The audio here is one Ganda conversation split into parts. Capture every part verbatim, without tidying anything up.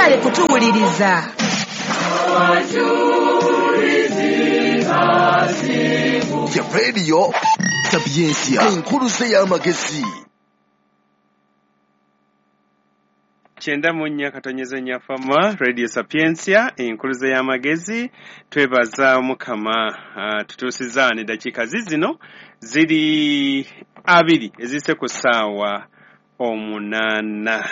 Mwebale kutuwuliriza. Ya Radio Sapientia, enkuluze y'amagezi. Kyenda mu nnya katonyeze nnya fama Radio Sapientia, enkuluze y'amagezi. Twebaza Mukama uh, tutuusiza ne dakiika zizino ziri abiri ezise ku ssaawa omunaana.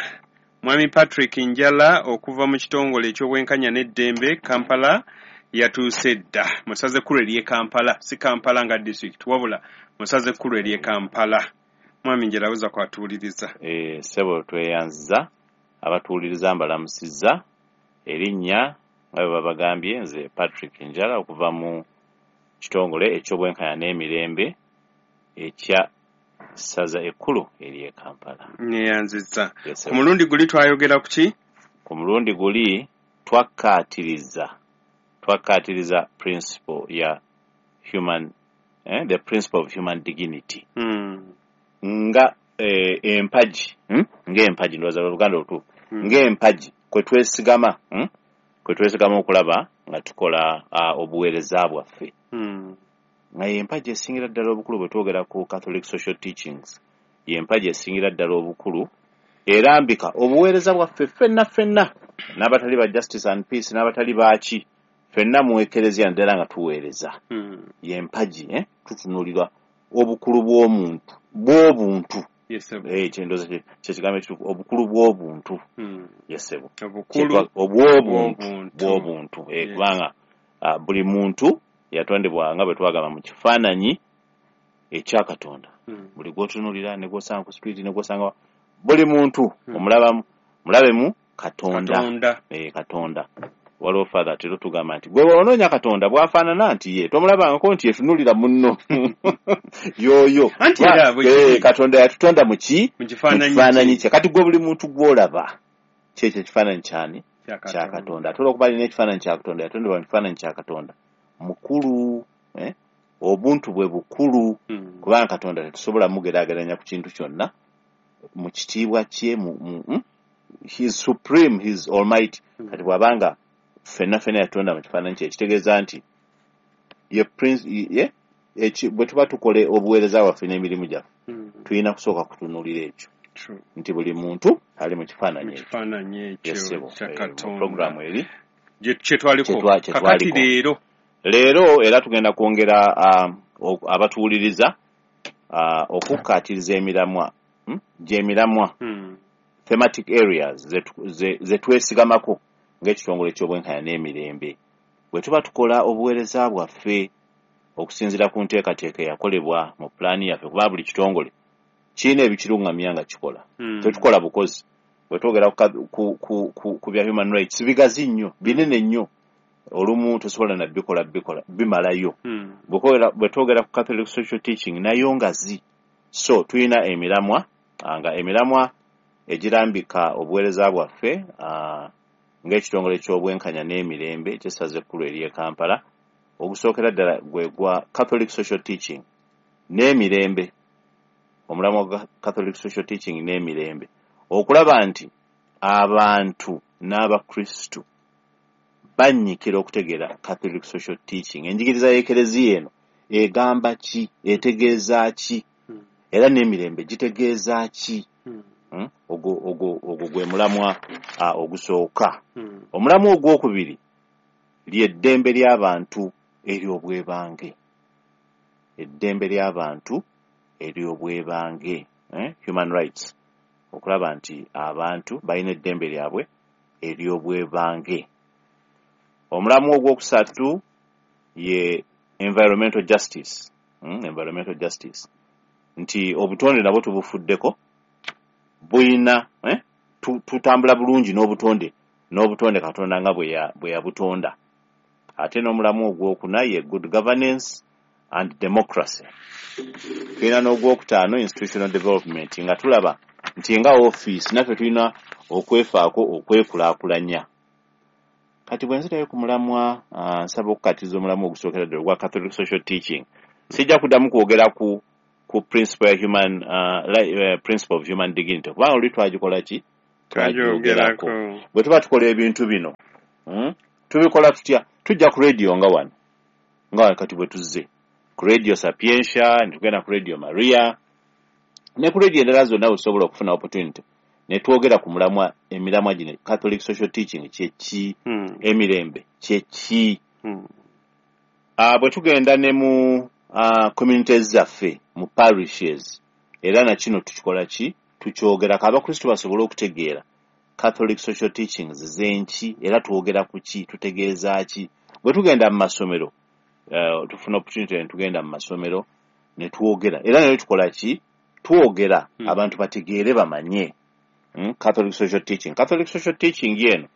Mwami Patrick Njala okuva mu kitongole eky'obwenkanya n'eddembe Kampala yatuuse dda. Musaze ekkulu ery'e Kampala, si Kampala nga district, wabula musaze ekkulu ery'e Kampala. Mwami Njala aweza kwatuwuliriza. Eh, ssebo tweyanziza abatuwuliriza mbalamusizza. Erinnya nga bwe babagambye nze Patrick Njala okuva mu kitongole eky'obwenkanya n'emirembe ekya ssaza ekkulu ery'e Kampala. Neyanzizza. Yes, Ku mulundi guli twayogera ku ki? Ku mulundi guli twakkaatiriza twakkaatiriza principle ya human eh, the principle of human dignity. Mm. Nga eh, empagi hmm? Ng'empagi ndowooza Oluganda olutuufu. Mm. Ng'empagi kwe twesigama hmm? Kwe twesigama okulaba nga tukola uh, obuweereza bwaffe. Mm. Nga y'empagi esingira ddala obukulu bwe twogera ku Catholic Social Teachings, y'empagi esingira ddala obukulu erambika obuweereza bwaffe ffenna ffenna n'abatali ba Justice and Peace n'abatali baaki ffenna mu Ekereziya ddala nga tuweereza. Mm. Y'empagi eh? Tutunuulirwa obukulu bw'omuntu bw'obuntu. Yes, sir. Eh, kyendowooza kye kyekigambo ekituufu, obukulu bw'obuntu. Mm. Yes, sir. Obukulu obw'obuntu bw'obuntu. bw'obuntu. Eh, Yes. kubanga uh, buli muntu yatondebwa nga bwe twagamba mu kifaananyi ekya Katonda. Mm. Buli gw'otunuulira ne gw'osanga ku street ne gw'osanga buli muntu Mm. omulabamu mulabemu Katonda. Katonda. Eh, Katonda. Waliwo Father atera tugamba nti gwe bw'onoonya Katonda bw'afaanana nti ye tomulabangako nti yetunuulira munno yooyo. Anti era bwe Eh, kiri. Katonda yatutonda mu ki? Mu Mu kifaananyi kifaananyi kye. Kati gwe buli muntu gw'olaba kyekyo ekifaananyi kyani? kya Kya Katonda. Ate olw'okuba alina ekifaananyi kya Katonda, yatondebwa mu kifaananyi kya Katonda. Mukulu, eh? Obuntu bwe bukulu, Mm. kubanga Katonda tetusobola mugeraageranya ku kintu kyonna mu kitiibwa kye mu, mu, mm? He is supreme, he is almighty. Mm. Kati bw'abanga ffenna ffenna yatonda mu kifaananyi kye, ekitegeeza nti ye prince ye eki bwe tuba tukole obuweereza bwaffe n'emirimu gyaffe Mm. tulina kusooka kutunuulira ekyo True. nti buli muntu ali mu Mu kifaananyi ekyo. kifaananyi ekyo Yes, ssebo. kya Eh, mu Katonda. programu eri Gye kye twaliko. Kye twa- kye Kakati twaliko. leero. Leero era tugenda kwongera um, abatuwuliriza uh, okukkaatiriza emiramwa hmm? gy'emiramwa Mm. thematic areas ze twesigamako ng'ekitongole ky'obwenkanya n'emirembe bwe tuba tukola obuweereza bwaffe okusinziira ku nteekateeka eyakolebwa mu pulaani yaffe, kuba buli kitongole kirina ebikiruŋŋamya nga kikola. Mm. Tetukola bukozi. Bwe twogera ku, ku, ku, ku, ku bya human rights bigazi nnyo, binene nnyo, olumu tosobola na bikola bikola bimalayo. Mm. Bwe twogera ku Catholic Social Teaching nayo ngazi. So tulina emiramwa nga emiramwa egirambika obuweereza bwaffe uh, ng'ekitongole ky'obwenkanya n'emirembe eky'essaza ekkulu ery'e Kampala. Ogusookera ddala gwe gwa Catholic Social Teaching n'emirembe, omulamwa gwa Catholic Social Teaching n'emirembe, okulaba nti abantu n'Abakristu bannyikira okutegeera Catholic Social Teaching. Enjigiriza y'Ekereziya eno egamba ki, etegeeza ki, Mm. era n'emirembe gitegeeza ki? Mm. Hmm? Ogwo ogwo ogwo gwe mulamwa uh, ogusooka. Mm. Omulamwa ogwokubiri ly'eddembe ly'abantu ery'obwebange. Eddembe ly'abantu ery'obwebange, eh? Human rights. Okulaba nti abantu balina eddembe lyabwe ery'obwebange. Omulamwa ogwokusatu ye environmental justice. Mm, environmental justice. Nti obutonde nabwo tubufuddeko, buyina eh? Tutambula bulungi n'obutonde n'obutonde Katonda nga bwe yabutonda. Ate n'omulamu ogwokuna ye good governance and democracy. Tulina n'ogwokutaano institutional development, nga tulaba nti nga ofiisi naffe tulina okwefaako okwekulaakulanya. Kati bwe nzirayo ku mulamwa, uh, nsaba okukatiriza omulamwa ogusookera ddala ogwa Catholic Social Teaching. Sijja kuddamu kwogera ku ku principle ya human uh, uh, principle of human dignity, kubanga oluli twagikola ki, Twagyogerako. Bwe tuba tukola ebintu bino, mm, tubikola tutya? Tujja ku radio nga wano, nga kati bwe tuzze ku Radio Sapientia, ne tugenda ku Radio Maria ne ku radio endala zonna wetusobola okufuna opportunity ne twogera ku mulamwa, emiramwa gino. Catholic social teaching kyeki? Mm. Emirembe kyeki? Mm. Uh, bwe tugenda ne mu uh, communities zaffe, mu parishes, era na kino tukikola ki? Tukyogerako abakristu basobole okutegeera Catholic social teachings zenki, era twogera ku ki, tutegeeza ki. Bwe tugenda mu masomero, uh, tufuna opportunity ne tugenda mu masomero ne twogera, era naye tukola ki? Twogera Hmm. abantu bategeere, bamanye mm? Catholic social teaching. Catholic social teaching eno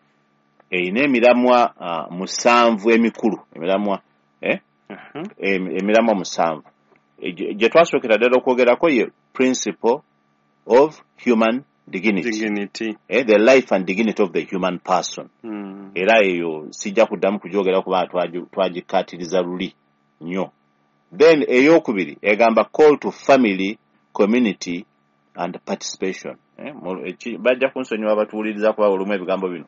erina emiramwa uh, musanvu emikulu, emiramwa eh? Aha. em- emiramwa musanvu. E, gye gye twasookera ddala okwogerako ye principle of human dignity, Dignity. eh, the life and dignity of the human person. Mm. Era eyo sijja kuddamu kugyogera kubanga twagi- twagikkaatiriza luli nnyo. Then eyokubiri egamba call to family, community and participation. Eh, mu- eki- bajja kunsonyiwa abatuwuliriza kuba olumu ebigambo bino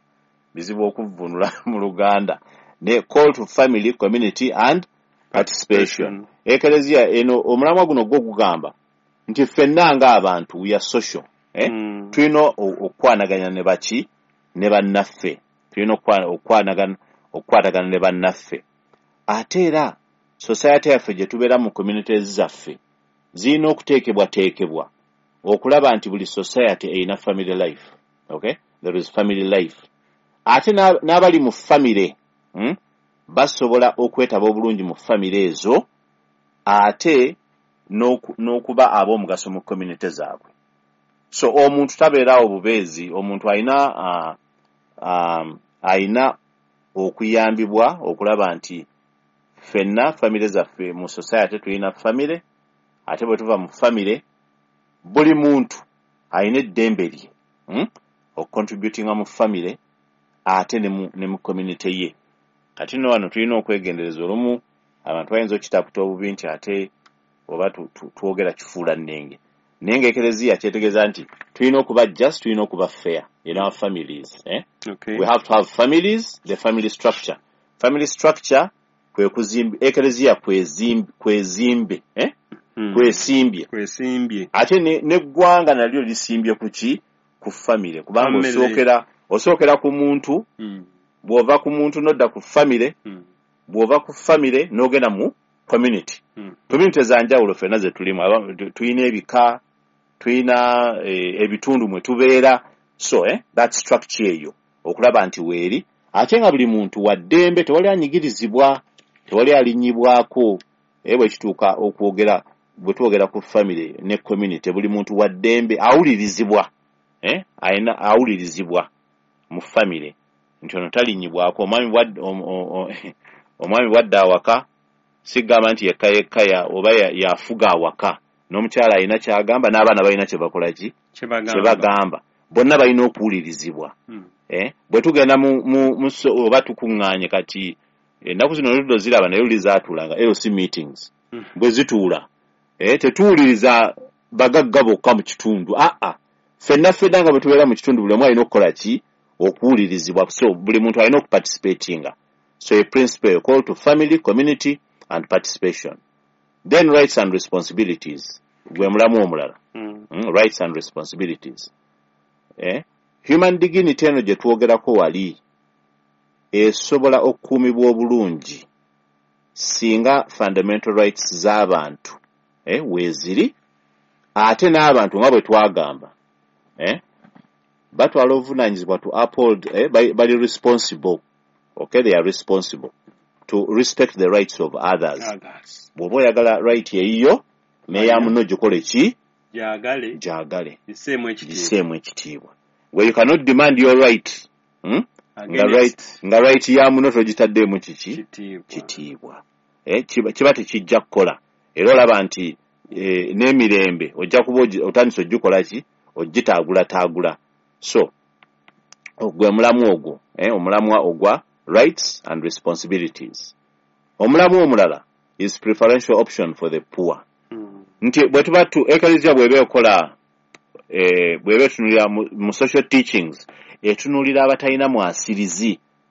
bizibu okuvvuunula mu Luganda, ne call to family, community and participation. Ekereziya eno, omulamwa guno gwo gugamba nti ffenna ng'abantu, we are social, eh? Mm. Tulina o- okukwanaganya ne baki? Ne bannaffe. Tulina okukwana- okukwanagana okukwatagana ne bannaffe. Ate era society yaffe gye tubeera mu communities zaffe zirina okuteekebwateekebwa okulaba nti buli society erina family life. Okay, there is family life. Ate n'a- n'abali mu family, hmm, basobola okwetaba obulungi mu family ezo, ate n'oku- n'okuba ab'omugaso mu community zaabwe. So omuntu tabeeraawo bubeezi. Omuntu alina uh, um, alina okuyambibwa okulaba nti ffenna famire zaffe mu society tulina famire, ate bwe tuva mu famire buli muntu alina eddembe lye, hmm? Okucontributinga mu famire ate ne mu, ne mu community ye. Kati nno wano tulina okwegendereza. Olumu abantu bayinza okitaputa obubi nti ate oba tu- tu- twogera kifuula nnenge, naye nga ekereziya kyetegeeza nti tulina okuba just, tulina okuba fair in our families, eh? Okay. We have to have families, the family structure. Family structure kwe kuzimba ekereziya, kwezimbe kwezimbe eh? Mm. Kwesimbye. Kwesimbye. Ate ne- n'eggwanga nalyo lisimbye ku ki? Ku famire, kubanga Family. osookera osookera ku muntu. Mm. Bw'ova ku muntu n'odda ku famire, Mm. bw'ova ku famire n'ogenda mu community. Mm. Community za njawulo ffenna ze tulimu. Aba- tu- tulina ebika, tulina eh, ebitundu mwe tubeera. So eh, that structure eyo okulaba nti weeri, ate nga buli muntu wa ddembe, tewali anyigirizibwa, tewali alinnyibwako. Eh, bwe kituuka okwogera, bwe twogera ku family ne community, buli muntu wa ddembe, awulirizibwa, eh, alina awulirizibwa mu family nti ono talinnyibwako. Omwami bwadda om- o- o- omwami bwadda awaka, sigamba nti yekka yekka ya- oba ya- yafuga awaka. N'omukyala alina kyagamba, n'abaana balina kye bakola ki? Kyebagamba. Kye bagamba. Bonna balina okuwulirizibwa. Mm. Eh, bwe tugenda mu, mu, mu so, oba tukuŋŋaanye kati ennaku zino oluddo ziraba, naye luli zaatuulanga L C meetings. Mm. Bwe zituula, eh, tetuwuliriza bagagga bokka mu kitundu. Aa, ffenna ffenna nga bwe tubeera mu kitundu, buli omu alina okukola ki? Okuwulirizibwa. So buli muntu alina okuparticipatinga. So a principle, call to family, community and participation. Then rights and responsibilities gwe mulamu omulala. Mm. mm, rights and responsibilities, eh? Human dignity eno gye twogerako wali esobola okukuumibwa obulungi singa fundamental rights z'abantu, eh, weeziri, ate n'abantu nga bwe twagamba, eh, batwala obuvunaanyizibwa to uphold, eh, bali, bali responsible. Okay, they are responsible to respect the rights of others. Others. Bw'oba oyagala right eyiyo, n'eya munno gikole ki? Gyagale. Gyagale. Giseemu ekitiibwa. Giseemu ekitiibwa. Where you cannot demand your right, hmm? Nga right, Against nga right ya muno togitaddeemu kiki? Kitiibwa. Kitiibwa, eh, kiba, kiba tekijja kukola. Era olaba nti eh, n'emirembe ojja kuba ogi- otandise ogikola ki? Ogitaagulataagula. So gwe mulamu ogwo, eh, omulamwa ogwa rights and responsibilities. Omulamu omulala is preferential option for the poor. Mm. Nti bwe tuba tu ekereziya bw'eba ekola eh, bw'eba etunuulira mu, mu social teachings, etunuulira abatalina mwasirizi.